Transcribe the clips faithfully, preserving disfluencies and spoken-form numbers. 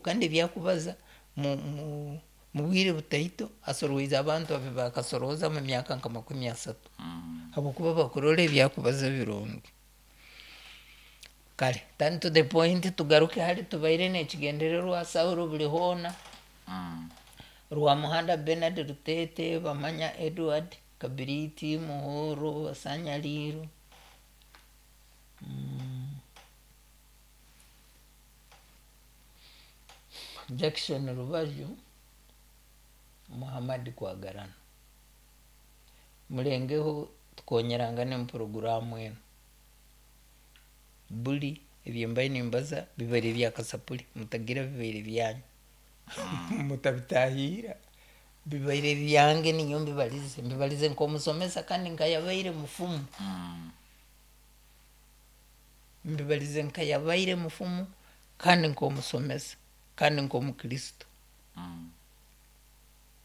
Kandi ebyakubaza mu- mu- mu bwire butaito asorweize abantu abe bakasorooza mu myaka nka makumi asatu, habwokuba bakurora ebyakubaza birungi. Kare turn to the point, tugaruke hali tubaire nekigendererwa. Saulo buli hoona, Rwamuhanda Benard Rutete, Bamanya Edward, Kabiriti Muhoro, Basanyaliiro, mm. Jackson Rubaju, Muhammad Kwagarana, mulengeho tukonyerangane mu puroguramu enu. Buli ebyembaire nimbaza bibaire byakasapuri, mutagira bibaire byanyu, mutabitahiira, bibaire byange, ninyo mbibalize, mbibalize nk'omusomesa kandi nkayabaire mufumu, mbibalize nkayabaire mufumu kandi nk'omusomesa kandi nk'omukristo.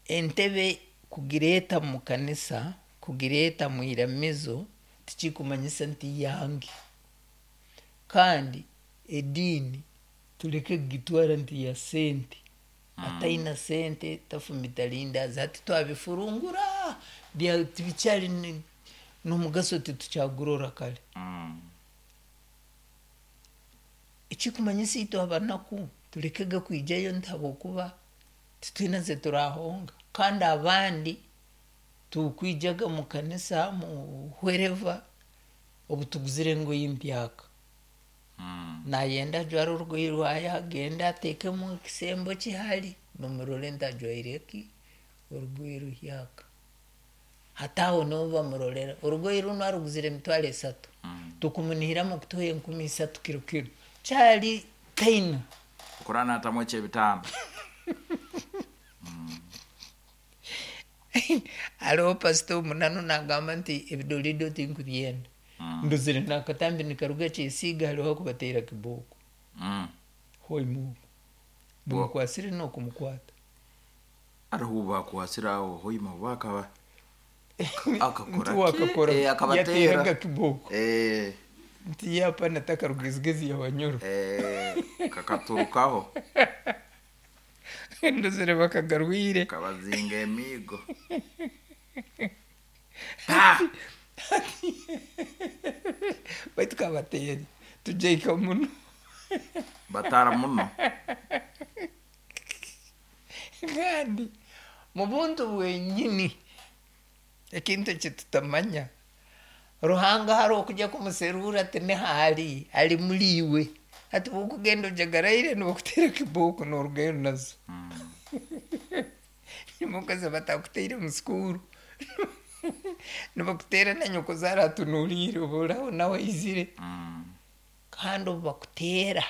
Entebe kugireeta mu kanisa, kugireeta mu iramizo, tikikumanyisa nti yange. Kandi ediini tuleke kugitwara nti ya sente, ataina sente tafumita lindazi. Hati twabifurungura, tibikyali n'omugaso, titukyagurora. Kare ekikumanyisa itwe abanaku tulekega kwijayo nti habwokuba titwina ze turahonga. Kandi abandi tukwijaga mu kanisa, mu wherever, obu tuguzire engoye empyaka, nayenda ajware orugoye rwaye, agende ateekemu ekisembo kihali, bamurole nti ajwaire ki, orugoye ruhyaka. Hati aho niho bamurolera orugoye runu aruguzire emitwaro esatu, tukumunihiramu kutuha enkumi isatu kiro kiro kyali taina. Kurana atamu ekyebitaano. Hariho pasita omunanu nagamba nti ebidolido tinkubyenda, ndozire nakatambi nikaruga Kyesiiga, hariho akubateera kibooko hoima oku bumukwasire n'okumukwata. Hariho bakwasire aho hoima bakaba akakora. Nti wakakora. Eh, akabateera. Yateeraga kibooko. Eh, nti yapana takarugezigezi yabanyoro. Eh, kakaturukaho. Ndozire bakagarwire. Kabazinga emiigo. Baitu kabateere tujaika muno. Batara muno. Kandi mu buntu bwenyini, ekintu ekitutamanya, Ruhanga hari okujya kumuserura tinihaali ali muliiwe. Hati bwokugenda ojagaraire nibakuteera kibooko norugayo nazo nimukazi batakuteire mu sukuru, nibakuteera na nyokozaara atunuliire oburaho nawe aizire. Kandi obu bakuteera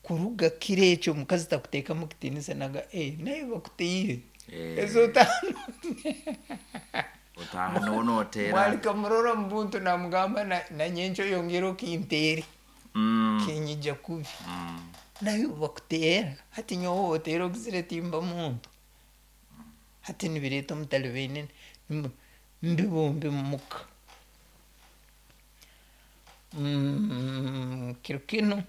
kuruga kiro ekyo, omukazi takuteekamu kitiinisa, naga eh, naye bakuteire. Eh. Ezo otano. Otaha niwo noteera. Mwalika murora mu buntu namugamba na- nanyenkyo oyongere okinteere, Mm, kinyija kubi. mm. Naye bakuteera hati nyowe oteera ogizire timba muntu, hati nibireeta omutalibaine mbibumbi mumuka. Mm, kiro kinu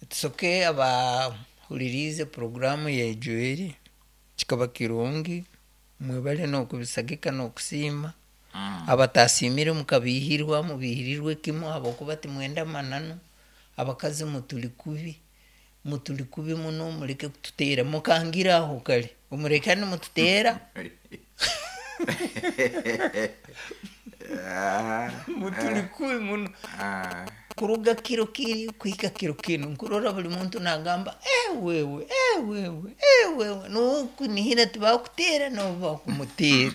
tusoke abahuliriize poroguramu ya Joeli, kikaba kirungi, mwebale n'okubisagika n'okusiima. Abatasiimire mukabihirwa, mubihirirwe kimu habwokuba timwenda mananu. Abakazi mutuli kubi, mutuli kubi muno, muleke kututeera mukangira aho. Kale omulekane mututeera. Ah, mutuli kubi muno. Ah. Kuruga kiro kiri kuhika kiro kinu nkurora buli muntu nagamba ewewe ewewe ewewe, nokunihira tibakuteera nobu bakumuteera.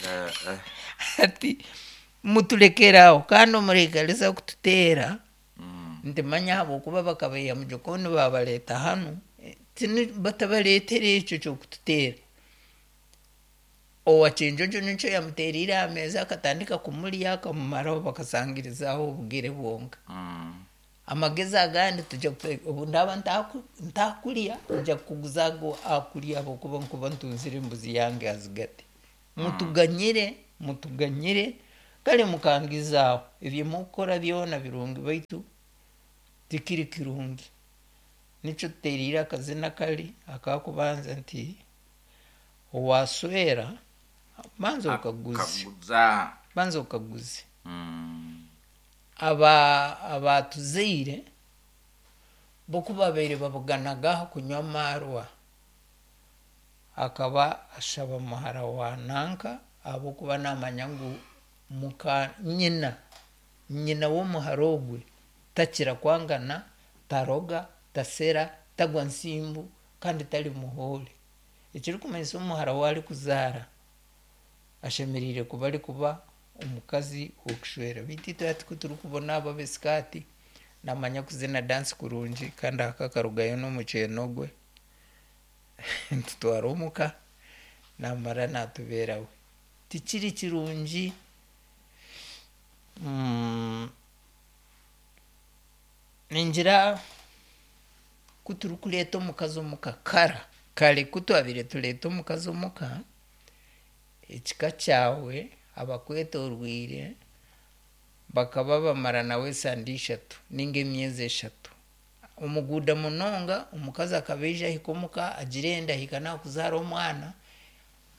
Eh, eh. Hati mutulekeraho kandi omurekalisa kututeera. Mm. Ntimanya habwokuba bakabaiha mujokoni babaleeta hanu. Eh, tini batabaleetera ekyo kyokututeera. Owakyenjojo nikyo yamuteriire aha meeza, akatandika kumurya akamumaraho, bakasangirizaho obugere bwonka. Mm. Amagezi agandi tujja kute- obu ndaba ntaku- ntakulya nja kukuguza ago akulya, habwokuba nkuba ntunzire embuzi yange azigate. Mutuganyire, mutuganyire. Kare mukangizaaho ebyo mukukora byona birungi, baitu tikiri kirungi. Nikyo tuteereire akazina kari akakubanza nti owaswera banza okaguze. Akaguza. Banza okaguze. Mm. Aba abatuzaire bo ku babaire babuganaga aha kunywa amaarwa, akaba ashaba muhara wa nanka ahabw'okuba naamanya ngu muka nyina nyina w'omuhara ogwe takira kwangana, taroga, tasera, tagwa nsimbu kandi tari muhoore. Ekirikumanyisa omuhara we arikuzaara ashemereire kuba arikuba omukazi w'okushwera. Beitu itwe hati ku turikubona abo ab'esikaati naamanya kuzina dansi kurungi kandi aka akarugayo n'omukyeno gwe, nitutwara omuka naamara naatubeerawe. Tikiri kirungi. Mm, ningira ku turikureeta omukazi omuka kara kare ku twabaire tureeta omukazi omuka, ekika kyawe abakwetoorwire bakaba bamara nawe esande ishatu ninga emyezi eshatu. Omuguuda munonga omukazi akaba aija ahika omuka agira enda ahika naakuzaara omwana,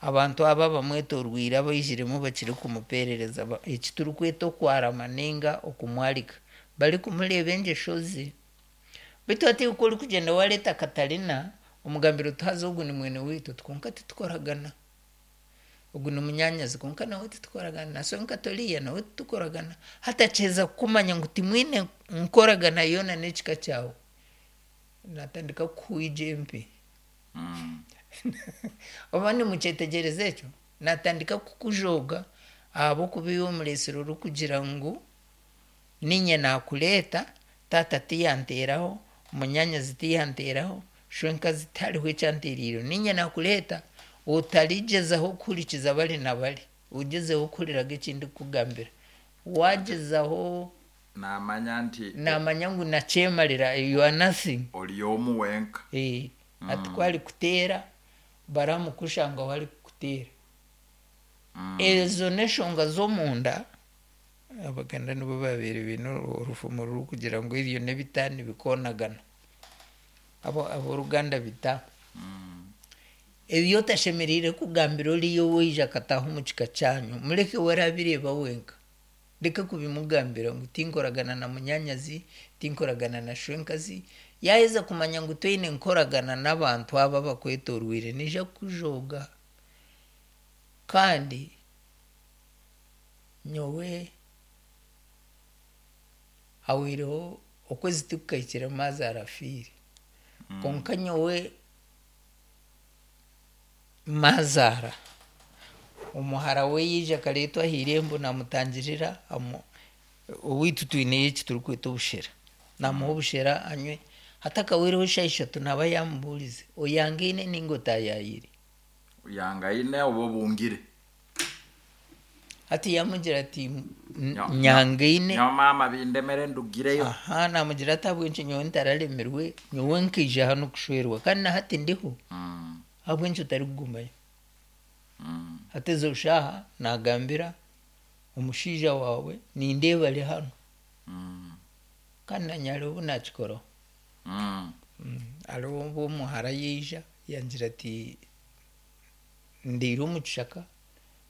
abantu aba abamwetoorwire abaijiremu bakiri kumupeerereza eki turikweta okwarama ninga okumwarika, barikumureeba engyesho ze. Beitu hati iwe ku orikugyenda wareeta Katarina omugambira oti haza ogu ni mwene waitu oti kwonka titukoragana, ogu ni munyaanyazi kwonka nawe titukoragana, na swenkato oriya nawe titukoragana. Hati akiheza kukumanya ngu timwine nkoragana yoona n'ekika kyawe, naatandika kukuhwija empi. Mm. Oba nimukyetegyereza ekyo? Naatandika kukujooga ahabw'okuba iwe omureetsire orikugira ngu niinye naakureeta, taata tiyanteeraho, munyaanyazi tiyanteeraho, shwenkazi tihariho ekyanteereireho, niinye naakureeta, otarigyezaho kuhurikiza bari na bari, ogyezeho kuhuriraga eki ndikukugambira. Waagyezaho Naamanya nti naamanya ngu nakyemarira, you are nothing. Ori omu wenka. Eh, hati ku arikuteera baramukushanga ahu arikukuteera. Mm. Ezo n'enshonga z'omunda. Abaganda nibo babaire baine orufumo rurikugira ngu ebyo n'ebita nibikonagana. Abo ab'oruganda bita. Mm. Ebi otashemereire kugambira oriya owaija akataaha omu kika kyanyu, mureke we arabireeba wenka. Reka kubimugambira ngu tinkoragana na munyaanyazi, tinkoragana na shwenkazi. Yaaheza kumanya ngu toine nkoragana n'abantu aba abakwetoorwire, naija kukujooga. Kandi nyowe hahwireho okwezi tikukahikire maazaara afiire. Kwonka nyowe maazaara omuhara we yaija akareetwa aha irembo naamutangirira, owaitu twineyo eki turikweta obushera, naamuha obushera anywe, hatakahwireho eshaaha ishatu naaba yaamubuurize, oyangaine ninga otaayaayire? Yangaine oba obungire. Hati yaamugira ati Nyo- nyangaine. Nyo maama bindemere ndugireyo. Aha, naamugira ati ahabw'enki nyowe ntararemirwe, nyowe nkaija hanu kushwerwa kandi na hati ndiho, Mm. ahabw'enki otarikugumayo? Mm. Hati ezo shaaha naagambira omushaija waawe nindeeba ari hanu. Mm. Kandi nanye hariho obu naakikoraho. Mm. Mm, hariho obu omuhara yaija yangira ati ndiire omu kishaka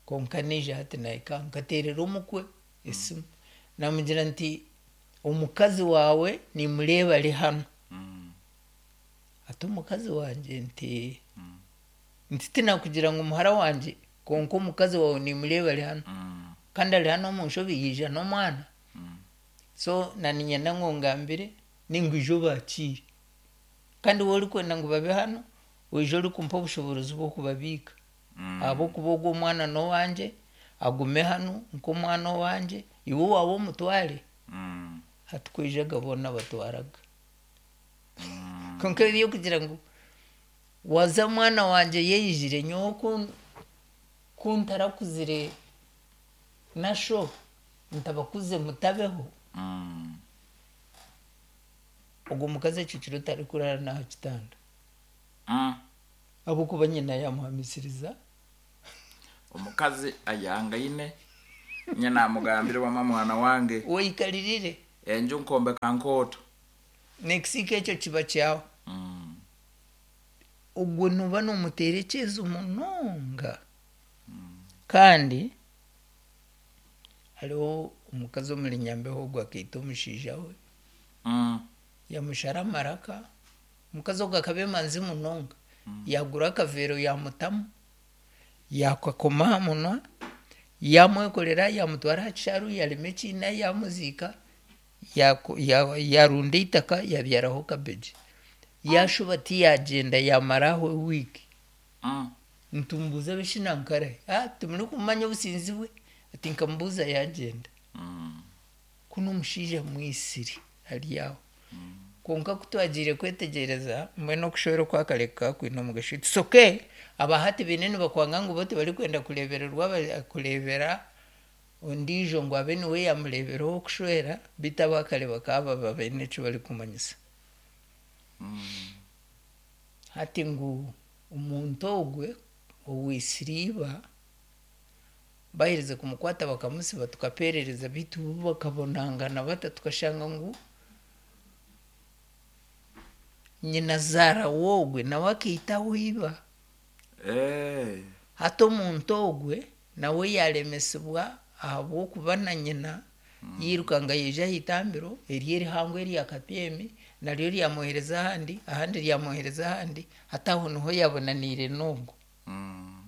kwonka naija hati nahika, nkateerera omukwe esimu, naamugira nti omukazi waawe nimureeba ari hanu. Mm. Ati omukazi wangye? Nti Mm. nti tinakugira ngu muhara wangye, kwonka omukazi waawe nimureeba ari hanu. Mm. Kandi ari hanu omu nshobi, yaija n'omwana. Mm. So naniinyenda ngu ongambire ninga oije obakiire. Kandi waaba orikwenda ngu babe hanu, oije orikumpa obushoboorozi bw'okubabiika. Mm. Ahabw'okuba ogwo omwana n'owangye, agume hanu nk'omwana owangye, iwe owaawe omutware. Mm. Hati kwijaga boona batwaraga. Mm. Kwonka eby'okugira ngu waza mwana wangye yaijire, nyowe ku ku ntarakuzire na sho, ntabakuze mutabeho. Mm. Ogwo mukazi ekyo kiro tarikuraara n'aha kitanda. Mm. Ahabw'okuba nyina yaamuhamisiriza. Omukazi ayangaine. Nye namugambire, "Wama mwana wange, weikaririre, enju nkombeka nkooto." Nekisiika ekyo kiba kyawe. Mm. Ogwo noba nomuterekyeza munonga. Kandi hariho omukazi omuri Nyambeho ogwo akaita omushaija we, Mm. yamushara amaraka. Omukazi ogwo akaba emanzi munonga, yagura akaveero, yamutamu, yakakoma aha munwa, yamwekorera, yamutwara aha kisharu, yarema ekiina, yamuziika, yaku- ya- yarunda eitaka, yabyaraho kabeegi, yashuba tiyagyenda, yamaraho wiiki. Mm. Ntumbuuza abeshinankara, ah, timuri kumanya obusinzi bwe? Ati nkamubuuza, yagyenda. Mm. Kuno omushaija mwisiri ari aho. Kwonka kutwagiire kwetegyereza mbwenu okushwera okwakareka kwine omugasho, it's okay. Abahati baine nibakwanga ngu bo tibarikwenda kureebererwa, aba- kureebera ondiijo ngu abe niwe yamureeberaho okushwera, beitu abakare bakaba baba baine eki barikumanyisa. Hati ngu omuntu ogwe owisire iba, baherize kumukwata bakamusiba, tukaperereza, beitu bo bakabonangana bata? Tukashanga ngu nyina zaara wogwe nawe akaitaho iba. Eh. Hati omuntu ogwe nawe yaremesibwa ahabw'okuba na nyina yirukanga yaija aha itambiro eryo erihango erya Kapyemi, naryo ryamwohereza ahandi, ahandi ryamwohereza ahandi. Hati aho niho yabonaniire n'ogwo. Mm.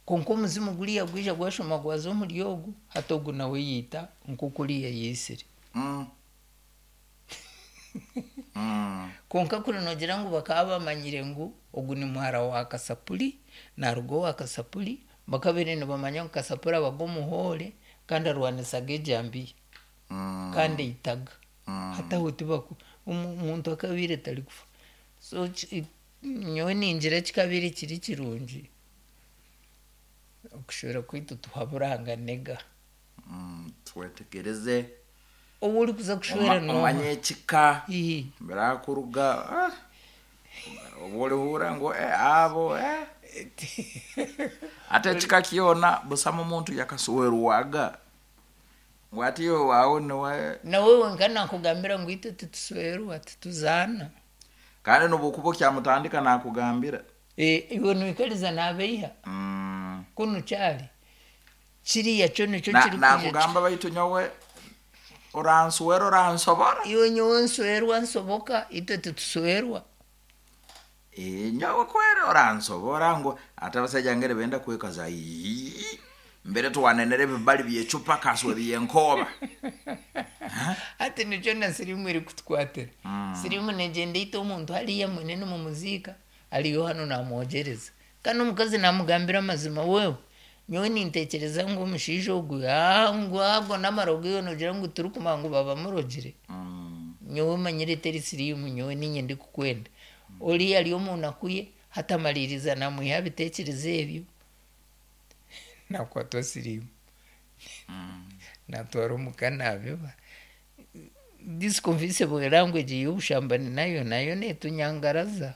Kwonka omuzimu guriya gwija gwashoma gwaza omuri ogu, hati ogu nawe yiita nk'oku oriya yaisire. Mm. Mm. Kwonka kuri nogira ngu bakaba bamanyire ngu ogu ni muhara wa Kasapuri, naruga owa Kasapuri, bakabaire nibamanya ngu Kasapuri abaga omuhoore kandi arwanisaga ejambiya, Mm. kandi aitaga. Mm. Hati aho tibaku omu- omuntu akabaire tarikufa. So ki- nyowe ningira kikabaire kiri kirungi okushwera kwaitu tuhaburanganega. Mm. Twetegereze. Ou orikuza kushwera Oma- nooha? Omanye ekika Ii. birakuruga. Ah, oba orihura ngu eh, abo eh. Ate ekika kyona busamu omuntu yakaswerwaga ngu ati iwe waawe niwe. Nawe wenka nakugambira ngu itwe tituswerwa, tituzaana. Kandi nobukuba okyamutandika nakugambira. Eh, iwe noikariza nabeiha. Mm. Kunu kyari kiriya kyo nikyo Na- kiri kwija. Nakugamba, "Baitu nyowe oranswera oransobora." Iwe nyowe nswerwa nsoboka, itwe tituswerwa. Eh, nyowe kwere oransobora ngu ate abasaija ngere benda kwekaza. "Ii, mbere twanenera ebibali byecupa kaswe byenkoba." Hati nikyo na sirimu eri kutukwatira. Sirimu negyenda eita omuntu hariya mwine nimumuziika, ariyo hano namwogyereza, kandi omukazi namugambira amazima, "Wewe, nyowe nintekyereza ngu omushaija ogu, ah, ngu ago n'amarogo, iwe nogira ngu turikumanya ngu baba murogire. Mm. Nyowe manyire teri sirimu, nyowe ninye ndikukwenda." Oriya ari omu naku ye, hati amaliriza namwiha bitekerezo ebyo, nakwatwa sirimu, natwara omuka nabiba. This confessible language y'obushambani nayo nayo netunyangaraza.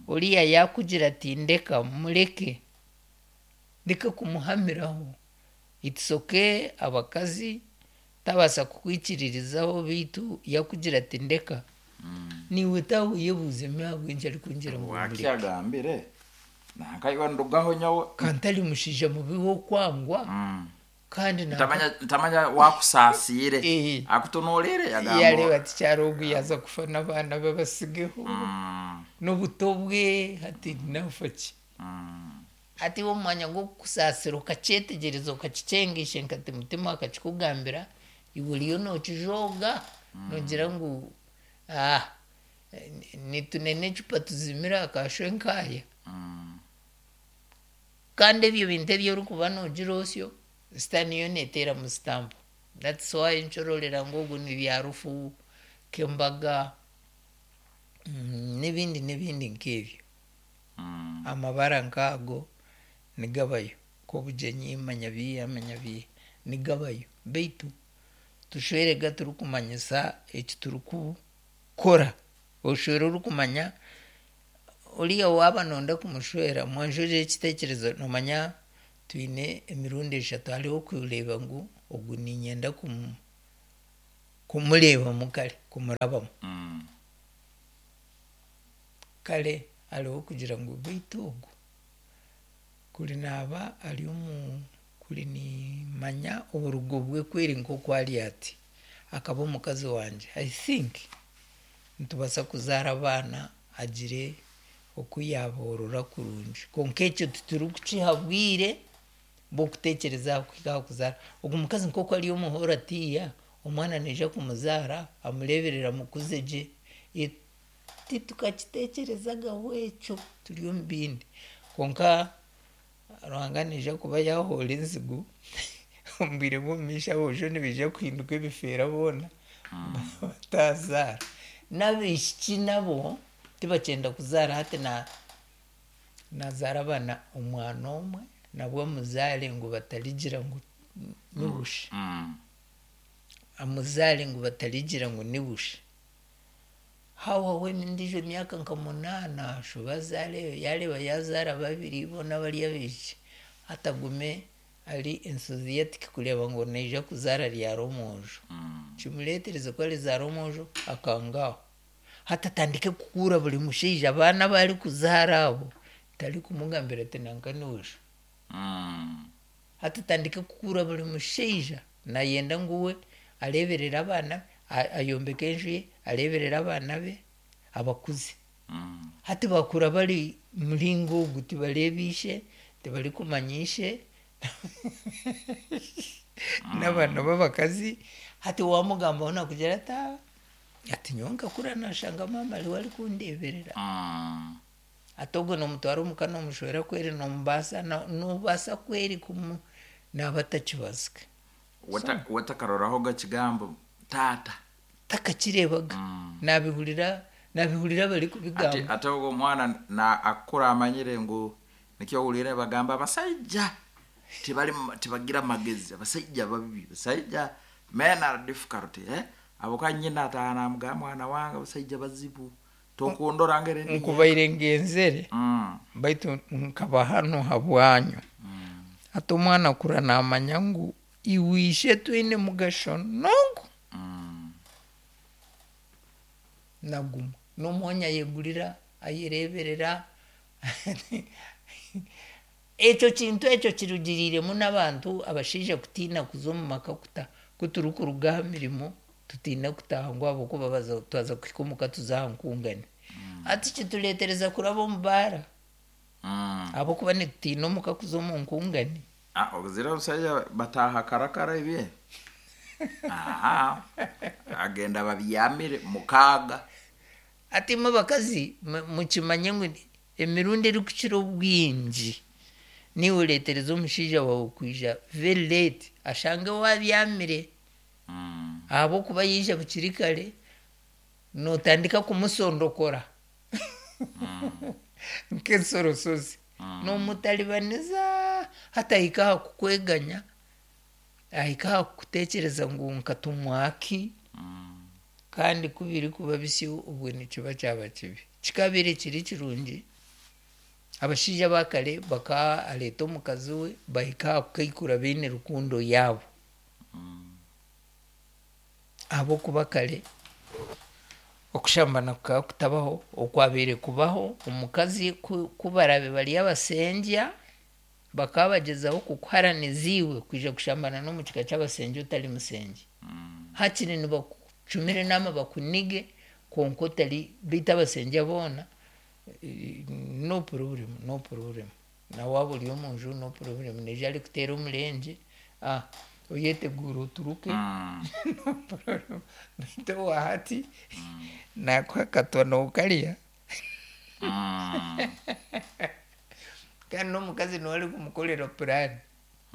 Oriya yakugira ati ndeka, mureke, ndeka kumuhamiraho. It's okay, abakazi tabaasa kukwikiririzaho, beitu yakugira ati ndeka, niwe taweyebuuzemu ahabw'enki arikungira ngu mureke. Wakyagambire nankaiwe ndugaho nyowe. Kandi ari mushaija mubi w'okwangwa. Mm. Kandi nanka- ntamanya ntamanya wakusaasiire. Eh. Akutunuulire yareeba yagamba ati kyarogu yaza kufa n'abaana be basigeho Mm. n'obuto bwe, hati nafa ki? Mm. Hati iwe omu mwanya gw'okukusaasira okakyetegyereza, okakikyengisha nkati mutima akakikugambira, iwe oriyo nookijooga, noogira ngu ah, nitunene ecupa tuzimire akashwe nkaaya. Mm. Kandi ebyo bintu ebi orikuba noogira osyo, sitaani yo neeteeramu sitampu. That's why nkyoroorera ngu ogu ni byarufu kembaga, mm, n'ebindi n'ebindi nk'ebyo. Mm. Amabara nk'ago nigabayo nk'obugyenyi, manya biiha, manya biiha, nigabayo, beitu tushwerega turikumanyisa eki turikukora. Oshwere orikumanya oriya waaba nonda kumushwera, mwanjurire ekiteekyerezo. Noomanya twine emirundi eshatu. Hariho okureeba ngu Ogu niinyenda kumu kumureebamu kare kumurabamu. Mm. Kare hariho kugira ngu beitu ogu kuri naaba ari omu kuri niimanya oburugo bwe kweri nk'oku ari ati akaba omukazi wangye, I think nitubaasa kuzaara abaana agire oku yaaborora kurungi. Kwonka ekyo titurikukiha bwire bw'okuteekyereza aha kuhika aha kuzaara. Ogu mukazi nk'oku ari omuhooro atiiya, omwana naija kumuzaara amureeberere amukuze gye. Titukakiteekyerezagaho ekyo turi omu bindi. Kwonka Ruhanga naija kuba yaahoora enzigu omu bwire bw'omumaisho aboojo nibaija kuhinduka ebifeera boona bataazaara. N'abaishiki nabo tibakyenda kuzaara, hati na nazaara abaana omwana omwe nabwo amuzaare ngu batarigira ngu ni busha. Mm. Amuzaare ngu batarigira ngu ni busha. Hahwaho endiijo myaka nka munaana ashube azaare, yaareeba yaazaara babiri boona bari abaishiki, hati agume ari enthusiastic kureeba ngu naija kuzaara ryari omwojo. Mm. Kimureetereze ku arizaara omwojo akanga aho. Hati atandike kukuura buri mushaija abaana abu arikuzaara abo tarikumugambira ati nanka ni busha. Mm. Hati atandike kukuura buri mushaija nayenda ngu we areeberere abaana be, ayombeke enju ye, areeberere abaana be abakuze. Mm. Hati bakura bari muringo ogu tibareeba ishe, tibarikumanya ishe n'abaana b'abakazi, hati waamugambaho naakugira ati aa ati nyowe nkakura naashanga maama ariwe arikundeeberera. Mm. Hati ogwo noomutwara omuka noomushwera kweri noomubaasa noobaasa kweri kumu naaba atakibazika. Wata- watakarorahoga kigambo taata. Takakireebaga. Mm. Naabihurira naabihurira ate barikubigamba. Ate ogwo omwana na akura amanyire ngu nikyo ohuriire bagamba abasaija tibari tibagira magezi, abasaija babi, abasaija, men are difficult, eh? Abo nyina ataaha namugamba, mwana wange abasaija bazibu, tokundora ngeri ndi. Nkubaire ngenzere mm. baitu nkaba hanu habwanyu. Mm. Hati omwana akura naamanya ngu iwe ishe twine mugasho n'ogu. Mm. Naguma n'omwanya ayegurira ayereeberera. Ekyo kintu ekyo kirugiriiremu n'abantu abashaija kutiina kuza omu maka kuta ku turikuruga aha mirimo tutiina kutaaha ngu ahabw'okuba baza twaza kuhika omuka tuza aha nkungane. Hati kitureetereza kuraba omu baara Mm. ahabw'okuba nitutiina omuka kuza omu nkungane. Ah, ogizire obusaija bataaha karakara ebye aha agenda babyamire mukaaga. Hati imwe abakazi mukimanye ngu emirundi erikukira obwingi niiwe oreetereza omushaija waawe kwija very late ashange waabyamire. Mm. Ahabw'okuba yaija bukiri kare nootandika kumusondokora nk'ensorosozi. Mm. Noomutaribaniza hati ahika aha kukweganya, ahika aha kukuteekyereza ngu nkatumwa ki. Mm. Kandi ku birikuba bisyo obwo nikiba kyaba kibi. Kikabaire kiri kirungi abashaija aba kare bakaba areeta omukazi we bahika aha kukaikura baine rukundo yaabo. Mm. Ahabw'okuba kare okushambana kukaba kutabaho, okwabaire kubaho omukazi ku ku baraabe bari abasengya bakaba bagyezaho kukuharaniza iwe kwija kushambana n'omu kika ky'abasengya otari musengye. Mm. Hakiri nibakucumira enaama bakunige kwonka otari beitu abasengya boona no problem, no problem. Na waaba ori omu nju no problem, naija arikuteera omurengye ah oyeteguure oturuke. Mm. No problem. Beitu owa hati naakuha akatwa nookarya. Mm. Kandi n'omukazi niwe arikumukorera plan.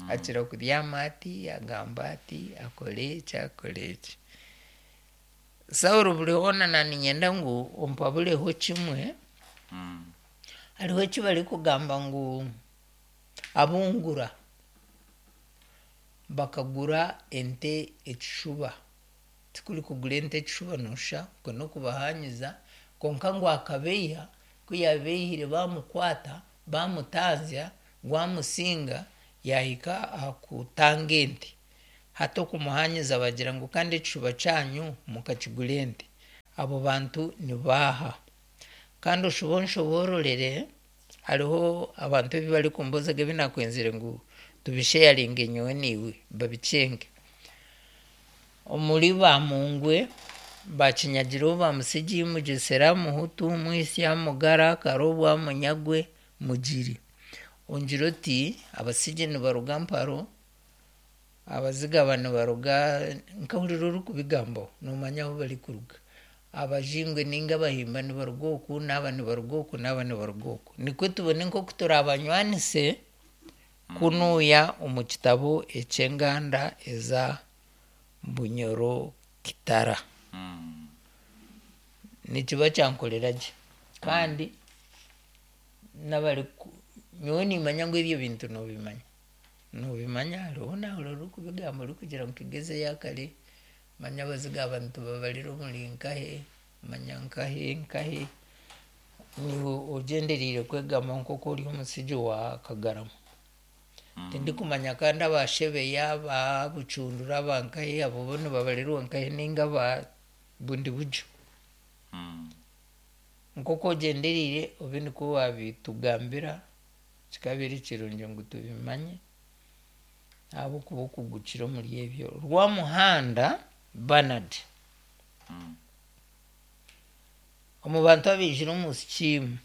Akira kubyama ati, agamba ati, akore eki, akore eki. Saulo buri hoona naaniinyenda ngu ompabureho kimwe. Mm. Hariho eki barikugamba ngu abungura bakagura ente ekishuba. Tikuri kugura ente ekishuba noosha okwo n'okubahanyiza, kwonka ngu akabeiha, ku yaabeihire baamukwata baamutanzya gwamusinga yaahika aha kutanga ente. Hati okumuhanyiza bagira ngu kandi ekishuba kyanyu mukakigura ente. Abo bantu nibaaha. Kandi oshuba onshoboororere, hariho abantu ebi barikumbuuzaga ebi nakwenzire ngu tubisheyaringe nyowe naiwe babikyenge. Omuri Bamungwe, Bakinyagireho, Bamusigi, Mugyesera, Muhutu, Mwisya, Mugara, Karobwa, Munyagwe, Mugiri. Ongira oti Abasigi nibaruga Mparo, Abazigaba nibaruga, nkahurira orikubigambaho noomanya ahu barikuruga. Abajingwe ninga Abahimba nibaruga oku, n'aba nibaruga oku, n'aba nibaruga oku. Nikwe tubone nk'oku turaabanywanise kunuuya omu kitabo eky'enganda eza Bunyoro Kitara. Mm. Nikiba kyankorera gye. Kandi n'abariku nyowe niimanya ngu ebyo bintu noobimanya. Noobimanya hariho naahurira orikubigamba orikugira ngu Kigezi eya kare, manya Abazigaba nitubabarira omuri nkahe, manya nkahe nkahe. Niiwe ogyendereire kwegamba nk'oku ori omusigi wa Kagarama. Tindikumanya kandi aba Shebeya, aba Bucundura, aba nkahe abo bo nibabarirwa nkahe ninga aba bundi buryo. Mm. Nk'oku ogyendereire obe nikwo waabitugambira, kikabeera kirungi ngu tubimanye ahabw'okuba okugukira omuri ebyo. Rwamuhanda Bernard. Mm. Omu bantu abaijire omu sikiimu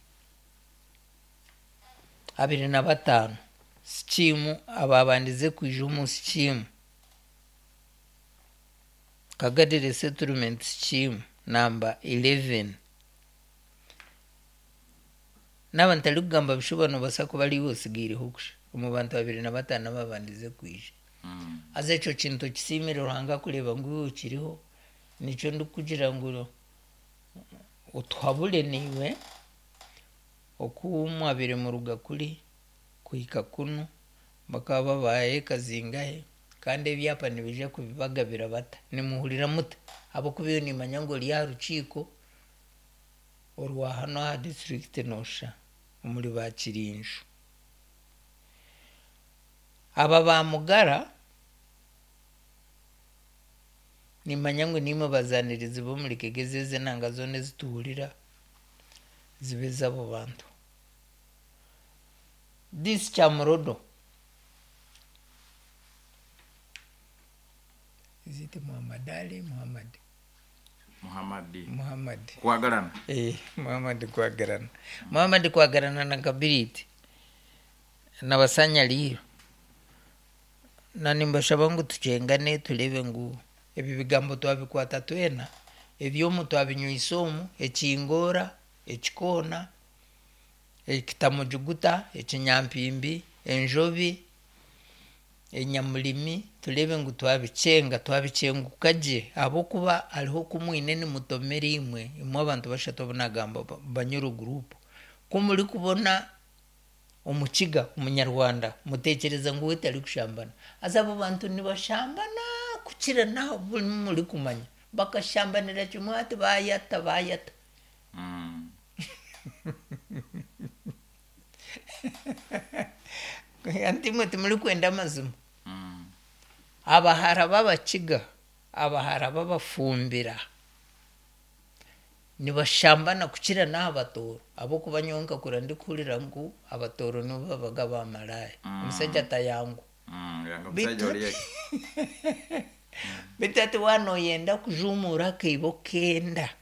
abiri na bataano, sikiimu abaabandize kwija omu sikiimu Kagadi Resettlement Scheme namba eleven. Naaba ntarikugamba bishuba noobaasa kuba ariiwe otsigaireho kusha omu bantu abiri na bataano abaabandize kwija. Mm. Haza ekyo kintu okisiimire Ruhanga kureeba ngu iwe okiriho, nikyo ndikugira ngu otuhabure naiwe oku mwabaire muruga kuri kuhika kunu, bakaba babaha eka zingahe, kandi ebyapa nibaija kubibagabira bata, nimuhurira muta? Ahabw'okuba iwe niimanya ngu ori aha rukiiko orwa hanu aha disiturikiti noosha omuri Baakirinju. Aba ba Mugara niimanya ngu niimwe bazaanirizi b'omuri Kigezi ezi enanga zoona ezituhurira zibe ez'abo bantu. This Kyamurodo, is it Muhammad Ali? Muhammad. Muhammad. Muhammad. Kwagalana. Eh, Muhammad Kwagalana. Muhammad Kwagalana na Kabiriti na Basanyaliiro. Na nimbashaba ngu tukyengane tureebe ngu ebi bigambo twabikwata twena, eby'omu twabinywisa omu, ekingoora, ekikoona, ekitamujuguta, ekinyampimbi, enjobi, enyamurimi, tureebe ngu twabikyenga, twabikyenguka gye ahabw'okuba hariho oku mwine nimutomera imwe, imwe abantu bashatu abu naagamba Banyoro group. Ku murikubona omukiga omunyarwanda muteekyereza ngu we tarikushambana. Haza abo bantu nibashambana kukira naho murikumanya. Bakashambanira kimwe hati bayata bayata. Mm. Anti imwe timurikwenda amazima. Mm. Abahara b'abakiga, abahara b'abafumbira nibashambana kukira n'aha batooro ahabw'okuba nyowe nkakura ndikuhurira ngu abatooro nibo babaga bamalaaya. Mm. Omushaija atayangwa. Mm. Yanga omushaija Bitu ori eki. bitu hati waaba nooyenda kujuumuura akaibo kenda,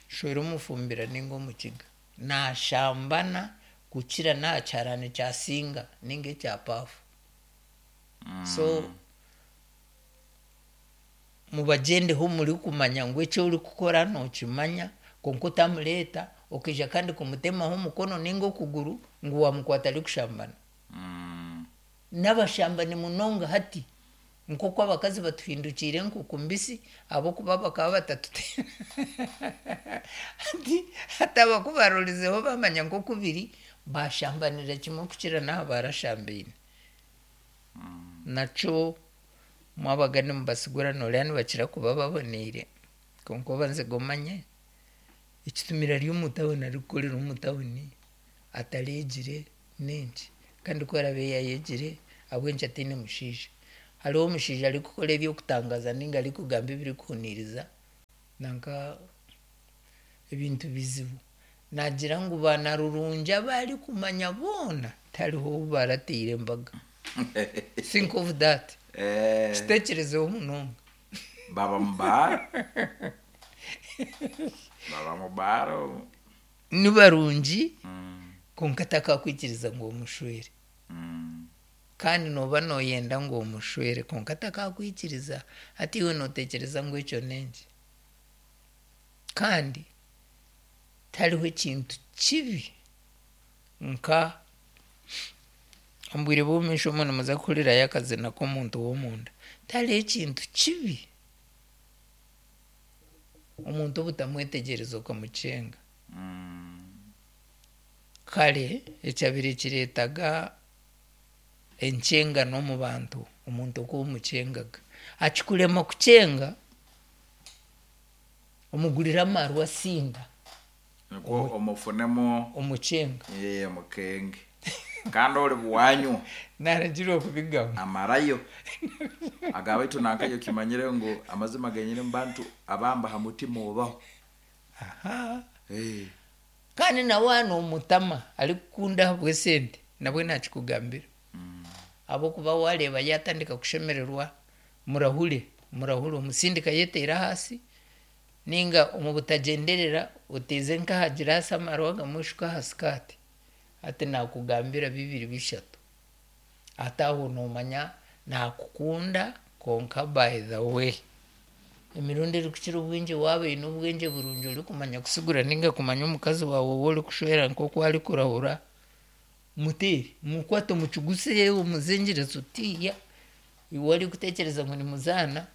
shwera omufumbira ninga omukiga. Naashambana kukira n'aha kiharani kya singa ninga ekya paafu. Mm. So mubagyendeho murikumanya ngu eki orikukora nookimanya kwonka otamureeta okaija kandi kumutemaho omukono ninga okuguru ngu waamukwata arikushambana. Mm. N'abashambani munonga hati nk'oku abakazi batuhindukiire enkuku mbisi ahabw'okuba bakaba batatuteera. Hati hati abakubarorizeho bamanya nk'oku biri, bashambanira kimwe kukira n'aha barashambaine. Mm. Nakyo mwabaga nimubasigura noreeba nibakira kuba baboneire kwonka obanze omanye ekitumire ari omu tawuni arikukorera omu tawuni atareegire n'enki kandi ku araabe yaayegire ahabw'enki ataine mushaija. Hariho omushaija arikukora ebyokutangaza ninga arikugamba ebirikuhuniiriza nanka ebintu bizibu. Nagira ngu banarurungi abarikumanya boona tihariho ou barateire embaga. Think of that. Eh, Kiteekyerezeho munonga. Baba mubara baba mubara. Ni barungi Mm, kwonka takakwikiriza ngu omushwere. mm. Kandi nooba nooyenda ngu omushwere kwonka takakwikiriza. Hati iwe nootekyereza ngu ekyo n'enki? Kandi tihariho ekintu kibi nka omu bwire bw'omumaisho omu nimuza kuhurirayo akazina k'omuntu w'omunda. Tihariho ekintu kibi omuntu obutamwetegyereza okamukyenga. Mm. Kare ekyabire kireetaga enkyengano omu bantu, omuntu oku omukyengaga. Akikurema kukyenga, omugurira amarwa asinda. Nikwo omufunemu Omukyenga. Ye mukenge kandi ori bwanyu. Naragirwa kubigamba. Amarayo agabaitu nankayo kimanyire ngu amazima genyine mubantu abamba ha mutima obaho. Aha. Eh, Kandi nawe hano omutama arikukunda ahabw'esente nabwe nakikugambira. Ahabw'okuba wareeba yatandika kushemererwa, murahure murahure omusindika yeteire ahansi ninga omu butagyenderera oteeze nk'aha giraasi amarwa agamwe oshuke aha sikaati. Hati nakugambira bibiri bishatu. Hati aho noomanya nakukunda kwonka by the way emirundi erikukira obwingi waaba oine obwengye burungi orikumanya kusigura ninga kumanya omukazi waawe ou orikushwera nk'oku arikurahura, muteere mukwate omukiguse omuzengyereze otiiya. Iwe orikutekyereza ngu nimuzaana,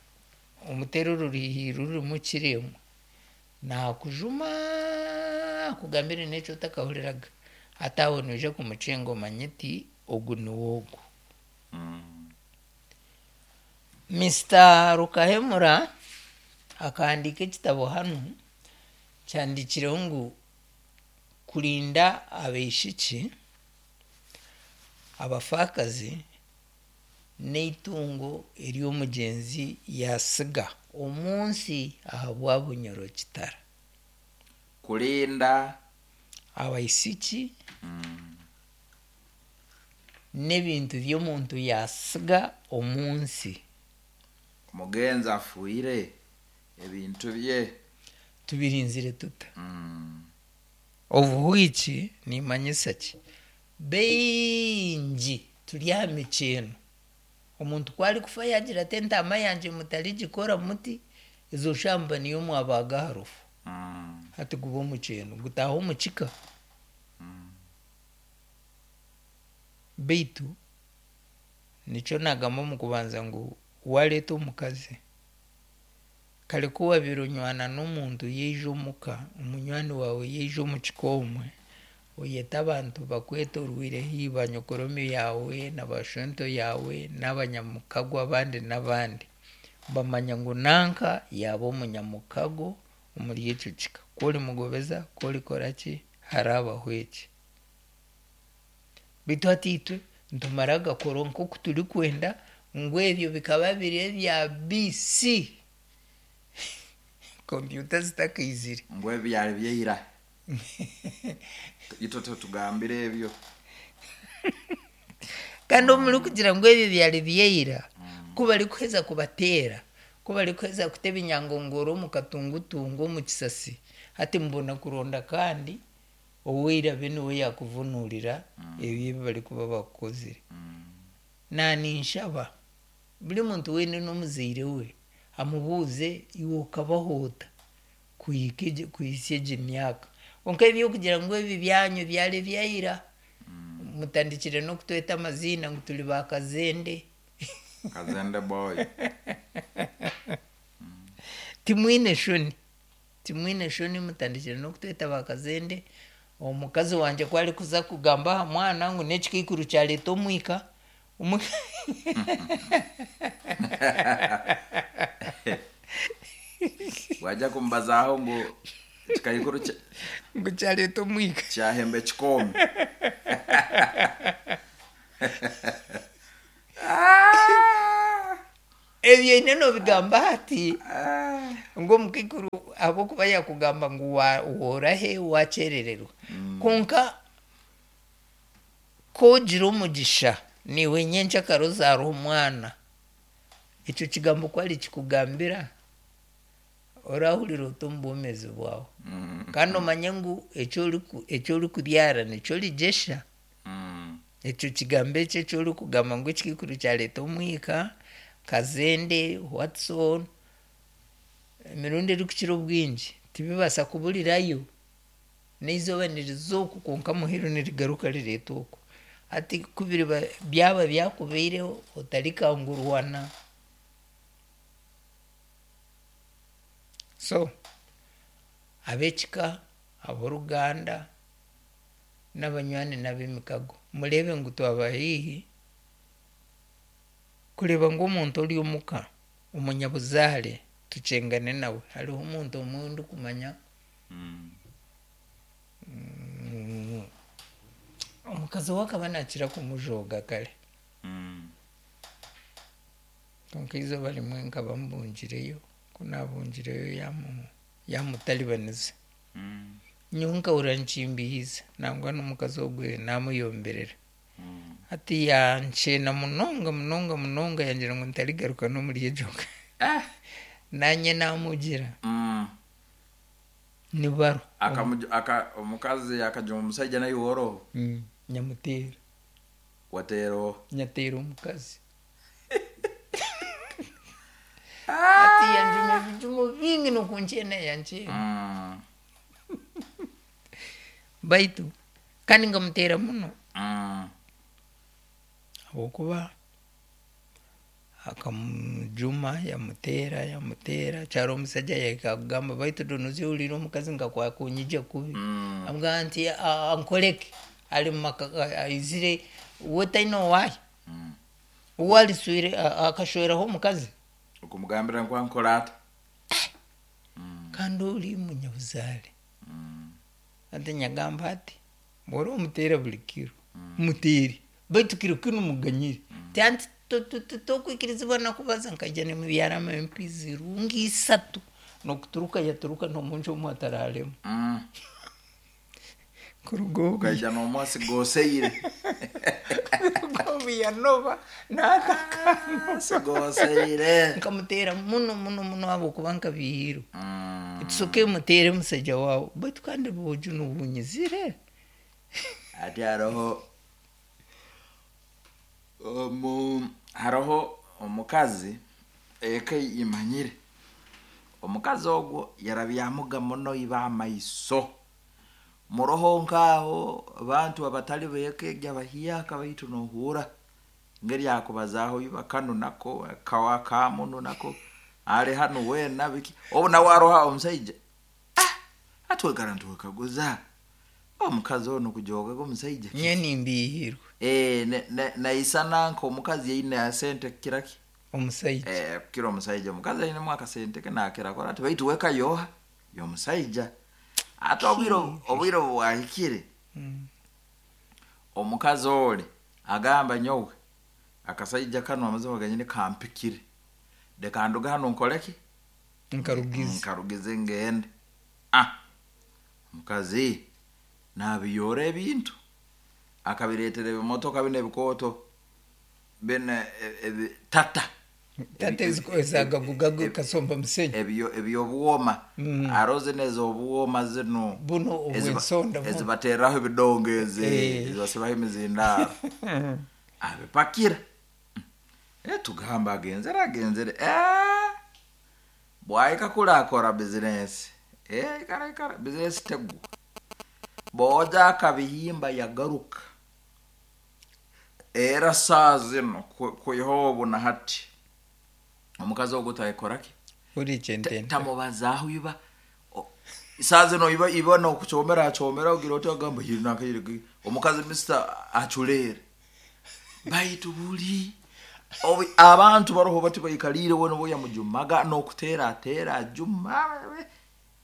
omuteere oruriihi rurimu kiremwa. Nakujuma akugambire n'eki otakahuriraga. Hati aho noija kumukyenga omanye oti ogu niwe ogu. mm. Mister Rukahemura akahandiika ekitabo hanu kyandikireho ngu kurinda abaishiki abafaakazi n'eitungo ery'omugyenzi yasiga omu nsi ahabwa Bunyoro Kitara. Kurinda abaishiki mm. n'ebintu by'omuntu yasiga omu nsi. Omugenzi afuire ebintu bye tubirinzire tuta? Mm. Obuhwiki nimanyisa ki? Baingi turi aha mikyeno. Omuntu ku arikufa yagira ati entaama yangye mutarigikora muti, ezo shamba niyo mwabaga aha rufu. Mm. Hati guba omukyeno gutaaha omu kika. Mm. Beitu nikyo nagamba omu kubanza ngu wareeta omukazi, kare ku wabiire onywana n'omuntu yaija omuka, omunywani waawe yaija omu kika omwe, oyeta abantu bakwetorwire haihi banyokoromi yaawe na bashwento yaawe n'abanyamukago abandi n'abandi. Bamanya ngu nanka yaaba omunyamukago omuri ekyo kika. Ku orimugobeza, ku orikora ki, harabaho eki. Beitu hati itwe nitumara gakora nk'oku turikwenda ngu ebyo bikaba biri ebya B C. Kompyuta zitakaizire. Ngu ebyo byari byeira. Itwe tutugambire ebyo. Kandi omuri kugira ngu ebyo byari byeira, ku barikuheza kubateera, ku barikuheza kuta ebinyangongoro omu katungutungu omu kisasi, hati mubona kuronda kandi oweira be niwe yakuvunurira ebyo ebi barikuba bakukozire. Naninshaba buri muntu weena n'omuzaire we amubuuze iwe okabaho ota kuhika egi kuhisya egi myaka. Kwonka ebyokugira ngu ebi byanyu byari byaira, mutandikire n'okutweta amaziina ngu turi ba Kazende. Kazende boy. Timwine shoni. Timwine shoni mutandikire n'okutweta ba Kazende. Omukazi wangye ku arikuza kugamba aha mwana ngu n'ekikaikuru kyareeta omwika, omwika Wajja kumbazaho ngu ekikaikuru kya- ngu kyareeta omwika. Kyahemba ekikomi. Ebyo ine nobigamba hati ngu omukaikuru ahabw'okuba yakugamba ngu wa- worahe wakyerererwa. Konka kogira omugisha niiwe nyenkyakara ozaara omwana, ekyo kigambo ku arikikugambira orahurira ota omu bwomeezi bwawe? Mm. Kandi omanye ngu eki orikubyara nikyo origyesha. Mm. Ekyo kigambo ekyo eki orikugamba ngu ekikaikuru kyareeta omwika, Kazende, Watson, emirundi erikukira obwingi tibibaasa kuburirayo. N'eizooba niriza oku konka muheru nirigaruka rireeta oku. Hati ku biriba byaba byakubaireho otarikangurwana. So ab'ekika, ab'oruganda n'abanywani n'ab'emikago mureebe ngu twaba haihi kureeba ngu omuntu ori omuka omunyabuzaare tukyengane nawe. Hariho omuntu omwe ndikumanya, Mm. mm, omukazi we akaba naakira kumujooga kare. Mm. Konka eizooba rimwe nkaba mbungireyo, ku naabungireyo yamu yamutaribaniza. Mm. Nyowe nkahurira nikimbihiza nangwa n'omukazi ogwe naamuyomberera. Mm. Hati yankyena munonga munonga munonga yangira ngu ntarigaruka n'omuri egyo ka. Eh. Naanye naamugira. Mm. Ni baro. Akamuj- aka omukazi akajuma omusaija naye woroho. Mm, nyamuteera. Wateera oha? Nyateera omukazi. Hati yanjuma ebijumo bingi n'okunkyena yankyena. Mm. Baitu kandi nkamuteera muno. Mm. Habwokuba akamujuma yamuteera yamuteera kyaro omusaija yahika kugamba baitu donozi ohuriire omukazi nka kwakunyija kubi. Mm. Amugamba nti ankoreke ari mumaka aizire we taine owaahe. Mm. Uwe ariswire akashweraho omukazi. Okumugambira ngu ankora ata? Mm. Kandi ori munyabuzaare. Mm. Hati nyagamba ati bw'ori omuteera buri kiro, muteere baitu kiro kinu muganyire. Ti anti tokwikirizibwa nakubaza nkaija nimubyaramu empi zirungi isatu n'okuturuka yaturuka n'omunju omu atararemu. Mm. Kuruga obu Ukaija n'omwasi goseire. Kuruga obu yanoba n'atakanoba. Sigoseire. Nkamuteera muno muno muno ahabw'okuba nkabihiirwe. Mm. Tusooke muteere musaija waawe baitu kandi bwojo nobunyizire. Ati hariho omu hariho omukazi eka imanyire. Omukazi ogwo yarabyamuga muno iba amaiso. Muroho nk'aho abantu abatali b'eka egi abahiaka baitu nohuura ngeri akubazaaho iba kanu nako kawa kamunu nako ali hanu weena biki obu nawe aroha omusaija ah, atwekara ntuwekaguza omukazi onu kujogaga omusaija Nyowe nimbihiirwe. Eh, ne- ne- naisana nk'omukazi yaine asente kukira ki? Omusaija. Eh, kukira omusaija. Omukazi ainemu akasente ke nakira akora ati baitu weka yoha y'omusaija. Ate obwire obwire obu bwahikire Mm. omukazi oli agamba nyowe akasaija kanu amazima ganyine kampikire, leka nduge hanu nkoreki? Nkarugize. Nkarugize ngende. Ah, omukazi nabiyora ebintu akabireetera ebimotoka bino ebikooto bino e- ebi tata. Tata ezagagugagu kasomba musenyi. Ebyo ebyobwoma. Mm. Aro zino ez'obwoma zino Buno eziba- obw'ensonda buno. ezibatereraho ebidongo ezi Eh. ezibasibaho emizindaaro abipakira. Eh, tugamba agenzere agenzere, Eh, bwahika kuri akora bizinesi. Eh, ikara ikara bizinesi tegwa boja akabihimba yagaruka era saa zino ku- kwiha obu na hati omukazi ogwo tayekoraki. Uri kyentente. Tamubazaho iba. O- saa zino iba iba nokukyomera akyomera ogira oti agamba yiri nakayiri omukazi mister aculeere baitu buli obu abantu baroho bati baikaliire wena obu yamujumaga n'okuteera ateera ajuma,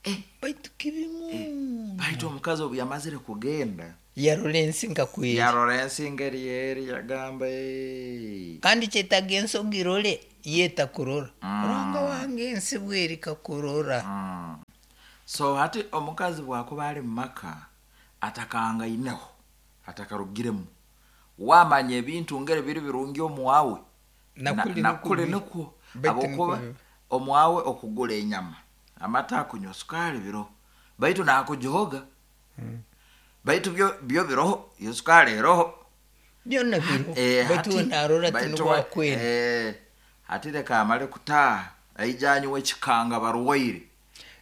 eh, Baitu kibimu. Baitu omukazi obu yamazire kugenda Yarora ensi nkakweri. Yarora ensi ngeri eri yagamba, "Eh." Kandi kyetaaga ensi ogirore Yeta kurora. Mm. Ruhanga wange ensi bwerika kurora. Mm. So hati omukazi bwakuba ali mumaka atakangaineho, atakarugiremu, wamanya ebintu ngere biri birungi omuwawe, Nakuli na- nikwo nakuli biri. nikwo Baitu habwokuba nikwo biba. omuwawe okugula enyama, amata, akunywa sukaali biro, baitu nakujoga, baitu byo byo biroho, iyo sukaali eroho. Byona biro. Eh, Baitu hati- we narora ati baitu nibwo we- akwenda. eh, hati leka amale kutaaha aija anywa ekikanga barwaire